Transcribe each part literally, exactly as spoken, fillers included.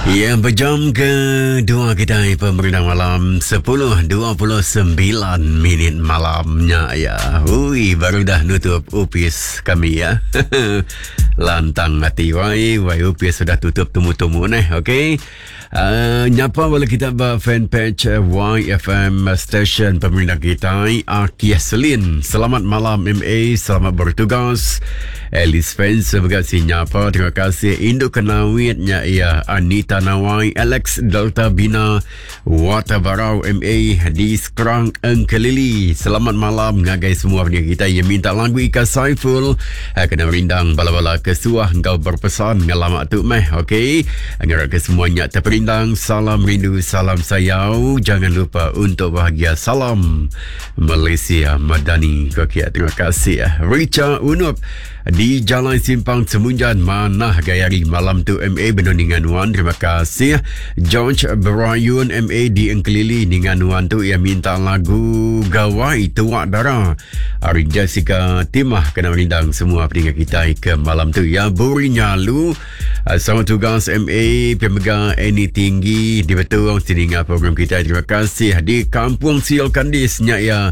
Ya, berjam ke dua kita pemerintah malam sepuluh dua puluh sembilan minit malamnya ya. Ui, baru dah nutup upis kami ya. Lantang hati wai, wai upis sudah tutup tumu-tumu neh, okey. Uh, nyapa bala kita ba fanpage Y F M Station pemerintah kita Akia Selin. Selamat malam M A, selamat bertugas. Alice Fans sebagai si nyapa, terima kasih. Induk kenawitnya ya Anita Nawai, Alex Delta Bina, Watabarau M A di Skrang Engkelili. Selamat malam ngagai semua pendengar kita yang minta lagu Ika Saiful. Kena merindang bala-bala kesuah engkau berpesan ngelamak tu meh, okey. Ngarap ke semuanya terperindang. Salam rindu, salam sayau. Jangan lupa untuk bahagia. Salam Malaysia Madani. Okey, terima kasih. Richa Unup di Jalan Simpang Semunjan, manah gaya hari malam tu M A benuningan Wan. Terima kasih. George Brian M A di Engkelili dengan Wan tu yang minta lagu Gawai Tuak Dara. Hari Jessica Timah kena merindang semua pendengar kita ke malam tu ya. Buri Nyalu sama tugas M A pemegang Eni Tinggi di Betung sini program kita. Terima kasih. Di Kampung Siol Kandisnya ya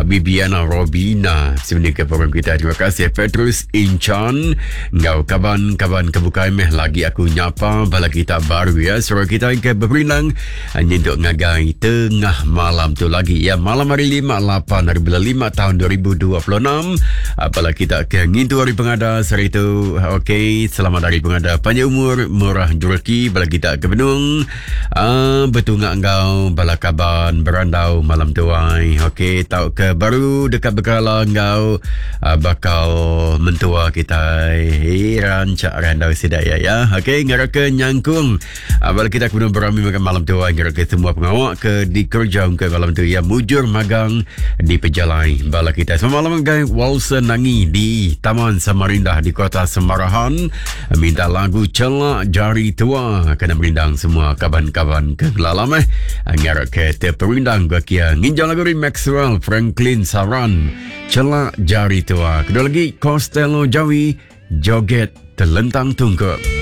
Bibiana Robina sebenarnya ke program kita. Terima kasih. Petrus Inchan ngau kaban-kaban kebukai meh lagi aku nyapa bala kita baru ya. Suara kita ke berperindang nyentuk ngagai tengah malam tu lagi ya. Malam hari lima lapan hari bulan lima tahun dua ribu dua puluh enam. Bala kita ke ngintu hari pengada sehari tu. Okey, selamat hari pengada, panjang umur, murah rezeki bala kita ke Benung. Uh, betungak ngau bala kaban berandau malam tuai. Okey, tau ke baru dekat berkala ngau uh, bakal mentua kita heran cak randau sedaya ya. Okey, ngarap ke nyangkung bala kita kena berami makan malam tu, ngarap ke semua pengawak ke dikerja ke malam tu ya, mujur magang di pejalai bala kita. Selamat malam guys. Walson Nangi di Taman Samarinda di Kota Semarahan minta lagu Celak Jari Tua kena merindang semua kaban-kaban ke lalam eh. Ngarap ke terperindang gua kia nginjau lagu Maxwell Franklin Saran Celak Jari Tua. Kedua lagi Costello Jawi Joget Telentang Tungkup.